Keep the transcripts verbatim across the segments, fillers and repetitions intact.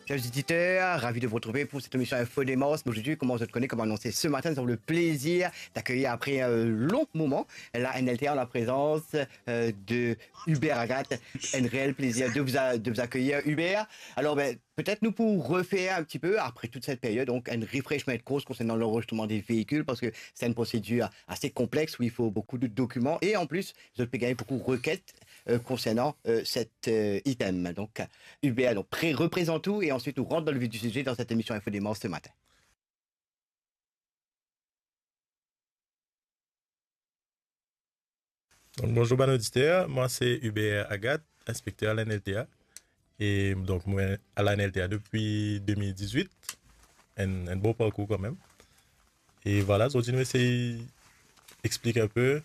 Chers auditeurs, ravi de vous retrouver pour cette émission Info Démence. Aujourd'hui, comme vous le connaissez, comme annoncé ce matin, nous avons le plaisir d'accueillir, après un long moment, la N L T A en la présence euh, de Hubert Agathe. Un réel plaisir de vous, a- de vous accueillir, Hubert. Alors, ben, peut-être nous pour refaire un petit peu, après toute cette période, donc un refreshment course concernant l'enregistrement des véhicules, parce que c'est une procédure assez complexe où il faut beaucoup de documents et en plus, vous avez gagné beaucoup de requêtes euh, concernant euh, cet euh, item. Donc, Hubert, donc, pré- représente tout et ensuite on rentre dans le vif du sujet dans cette émission Info Démence ce matin. Donc, bonjour bann oditer, mwa se Hubert Agathe, inspekter à la N L T A. E donk, mwa à la N L T A depi de mil diz-wit, enn, enn bon parkour kanmem. E vwala, zordi nou esey explik inpe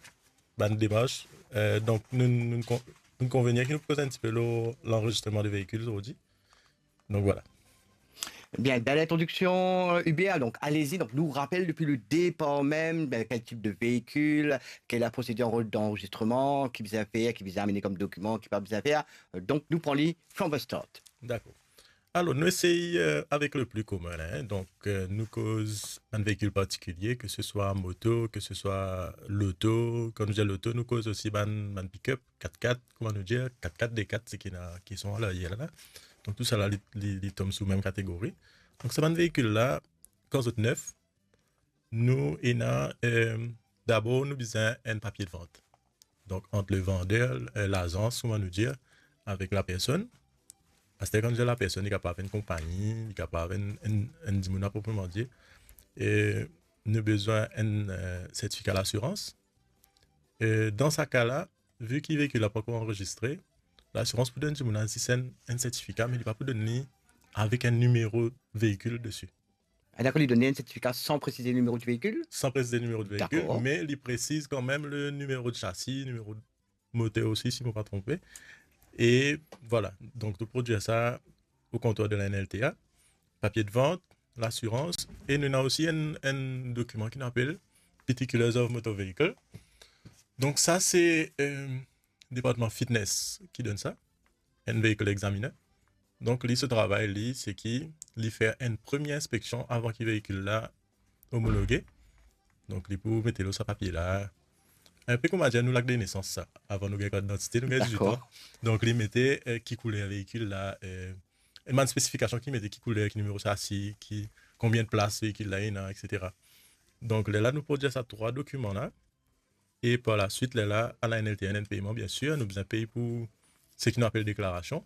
bann demars. Euh, donk, nou, nou, nou konvenir ki nou koz enn tipe lor lanrezistreman de veikil zordi. Donc voilà. Bien, belle introduction, euh, Hubert. Donc, allez-y. Donc, nous rappelle depuis le départ même, ben, quel type de véhicule, quelle est la procédure d'enregistrement, ki bizin fer, ki bizin amenn kom dokiman, ki pa bizin fer. Euh, donc, nou pran li from the start. Dakor. Alor, nou esey euh, avek le pli komin la, hein. Donk, euh, nou koz bann veikil partikilie, ke se swa moto, ke se swa loto. Kan nou dir loto, nou koz osi bann, bann pick-up, kat-kat, kouma nou dir, kat-kat, de kat, seki ena, ki son alaryer la. Donk, tou sa la, li, li, li tom sou mem kategori. Donk, sa bann veikil la, kan zot nef, nou ena, euh, dabor, nou bizin enn papie de vant. Donk, ant le vander, euh, lazans, kouma nou dir, avek lapersonn. Aster, kan nou dir lapersonn, li kapav enn konpagni, li kapav enn, enn, enn dimoun apropreman dir. E nou bizin enn, euh, sertifika lasirans. E dan sa ka la, vi ki veikil la pankor anrezistre, lasirans pou donn dimoun la zis enn, enn sertifika, me li pa pou donn li avek enn nimero veikil desi. Ah, dakor, li donn enn sertifika san presize nimero di veikil? San presize nimero di veikil, me li presiz kanmem le nimero de chasi, nimero de moter osi, si mo pa tronpe. E vwala, donk nou prodwir sa o kontwar de la N L T A, papie de vant, lasirans, e nou ena osi enn, enn dokiman ki nou apel Particulars of Motor Vehicle. Donk sa se euh, departman fitness ki donn sa, enn vehicle examiner. Donk li, so travay li, seki li fer enn premie inspeksion avan ki veikil la omologe. Donk li pou met lor sa papie la. Inpe kouma dir nou lakt de nesans sa, avan nou gagn kart didantite, nou gagn dizwit an. Donk li mete euh, ki kouler veikil la, euh, enn bann spesifikasion ki mete ki kouler, ki nimero chasi, ki, konbien plas veikil la ena, et cetera. Donk lerla nou prodwir sa trwa dokiman la, e par laswit, lerla, à la N L T A ena enn peyman, biensir, nou bizin pey pou seki nou apel deklarasion,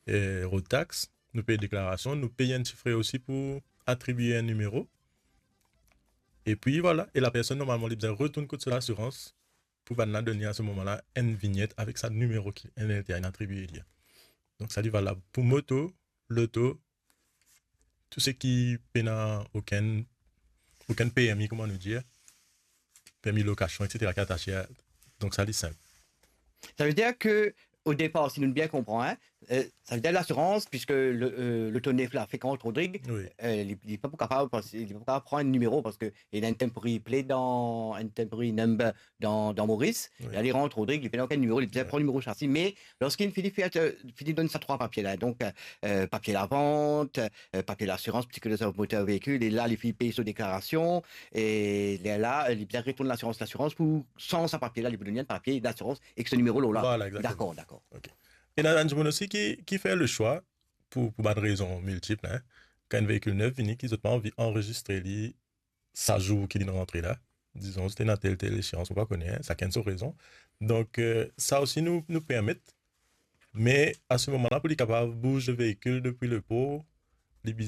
e road tax, nou pey deklarasion, nou pey enn ti fre osi pou atribie enn nimero. Epi vwala, e lapersonn normalman li bizin retourn kot so lasirans pou bann la donn li a se moman la enn vinyet avek sa nimero ki N L T A inn atribie li. Donk sa li valab pou moto, loto, tou seki pena okenn, okenn permi, kouma nou dir, permi lokasion, et cetera, ki atase a. Donk sa li sinp. Sa ve dir ke o depar, si nou bien konpran, hein, euh, sa ve dir lasirans, piske le, euh, loto nef la fek rant Rodrig, Oui. euh, li, li pa pou kapav, pas- li pa pou kapav pran enn nimero, paske li ena enn temporary plate dan, enn temporary number dan, dan Moris, Oui. e li rant Rodrig, li pena okenn nimero, li bizin pran nimero chasi, me lorski li fini fer, euh, fini donn sa trwa papie la, donk, euh, papie lavant, euh, papie lasirans, particulars of motor vehicle, e la li fini pey so deklarasion, e lerla, euh, li bizin retourn lasirans, lasirans pou sanz sa papie la, li pou donn li enn papie lasirans ek so nimero lor la. Vwala, egzakteman. Dakor, dakor. Ena bann dimoun osi ki, ki fer le swa, pou, pou bann rezon miltip, hein. Kan enn veikil nef vini, ki zot pa anvi anrezistre li sa zour ki li rantre la. Dizon, zot ena tel, tel exeyans, ou pa kone, hein, sakenn so rezon. Donk, euh, sa osi nou, nou permet, me a se moman la, pou li kapav bouz veikil depi lepor,